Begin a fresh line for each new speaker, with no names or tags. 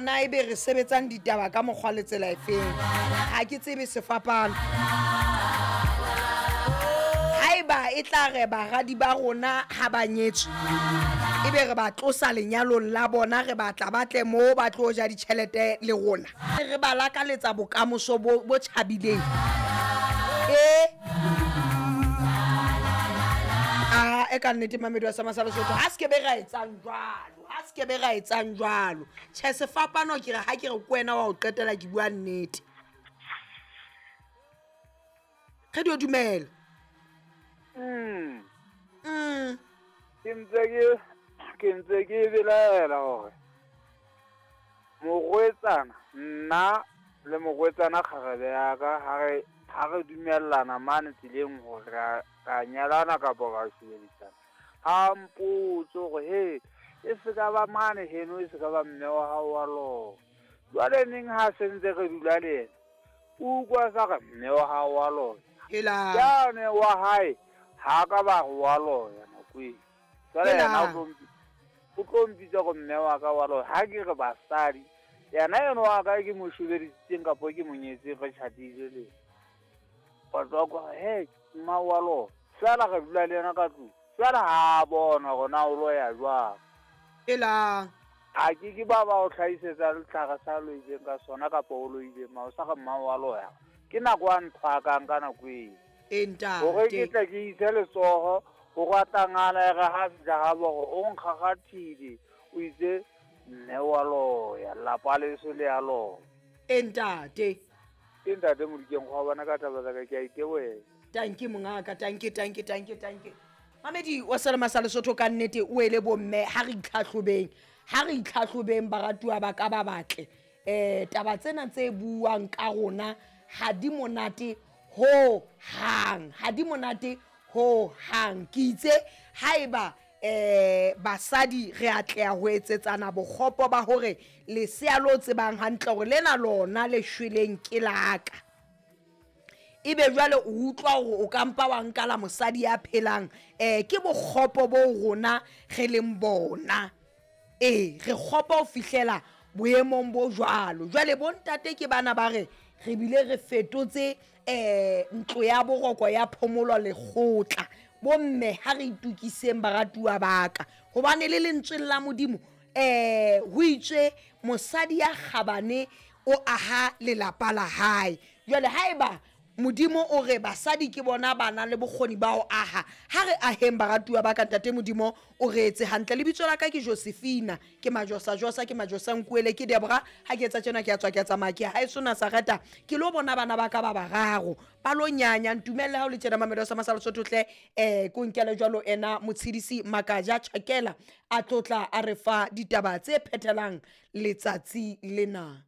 Na ebe re sebetsang ditaba ka mokgwa le tsela efeng? Ha ke tsebe sefapano. Haeba e tla re baradi ba rona ha ba nyetswe ebe re ba tlosa lenyalong la bona, re batla ba tle mo ba tlo ja ditjhelete le rona, re ba lakaletsa bokamoso bo bo tjhabileng. E a e ka nnete mamedi wa sama sa Lesotho, ha se ke be ra etsang jwalo, ha se ke be ra etsang jwalo. Tjhe, sefapano ke re ha ke re ke wena wa ho qetela, ke bua nnete. Re dio dumela.
Ke ntse ke belaela hore morwetsana, nna le morwetsana kgarebe ya ka, ha re dumellana mane tseleng hore ra nyalana kapa ra shebedisana, ha mpotse hore he e se ka ba mane heno, e se ka ba mme wa hao wa loya. Jwale neng ha se ntse re dula le yena, o utlwa sa re mme wa hao wa loya.
Helang.
Yane wa hae ha ka ba re wa loya nako eo. Jwale yena o tlo mpitsa gore mme wa ka wa loya. Ha ke re basadi, yena eno wa ka ke mo shebedisitseng kapo ke mo nyetseng, re tjhatile le batho ba kwa he mma wa loya, fela re dula le yena ka tlung, fela ha a bona hore na o loya jwang.
Helang.
A ke ke ba ba o hlahisetsa letlhare sa loileng ka sona kapa o loileng ma o sa re mma wa loya. Ke nako a nthwakang ka nako eo
E
hore ke
ntate.
tle ke ise letsoho ho ratangana e re ha fihla ha bo hore o nkgakgathile, o itse mme wa loya, lelapa leso le ya loya.
E ntate.
Ke ntate Modikeng go bona ka taba tsa ka, ke a itebohela.
Tanki mongaka, tanki, tanki, tanki, tanki. Mamedi wa selema sa Lesotho, ka nnete o ele bomme, ha re itlhahlobeng, ha re itlhahlobeng baratuwa ba ka ba batle. Taba tsena tse buang ka rona ha di monate ho hang, ha di monate ho hang. Ke itse haeba basadi re atleha ho etsetsana bokgopo ba hore lesea lo tsebang hantle hore lena lona le shweleng ke laka, ebe jwale o utlwa hore o ka mpa wa nka la mosadi ya phelang, ke bokgopo bo rona re leng bona. Ee, re kgopo ho fihlela boemong bo jwalo. Jwale bontate ke bana ba re re bile re fetotse ntlo ya boroko ya phomolo lekgotla. Bomme, ha re itukiseng baratuwa ba ka, hobane le lentsweng la Modimo ho itswe mosadi ya kgabane o aha lelapa la hae. Jwale haeba Modimo o re basadi ke bona ba nang le bokgoni ba ho aha, ha re aheng baratuwa ba ka. Ntate Modimo o re etse hantle. Lebitso la ka ke Josephina, ke Majosajosa, ke Majosankuele, ke Debora. Ha ke etsa tjena, ke a tswa, ke a tsamaya, ke ha e sona Sareta, ke lo bona bana ba ka ba bararo ba lo nyanya. Ntumelle ha o le tjena, Mamedo sa Masala Sotho hle, ko nkele jwalo ena Motshidisi Makaja Tjhakela a tlotla a re fa ditaba tse phethelang letsatsi lena.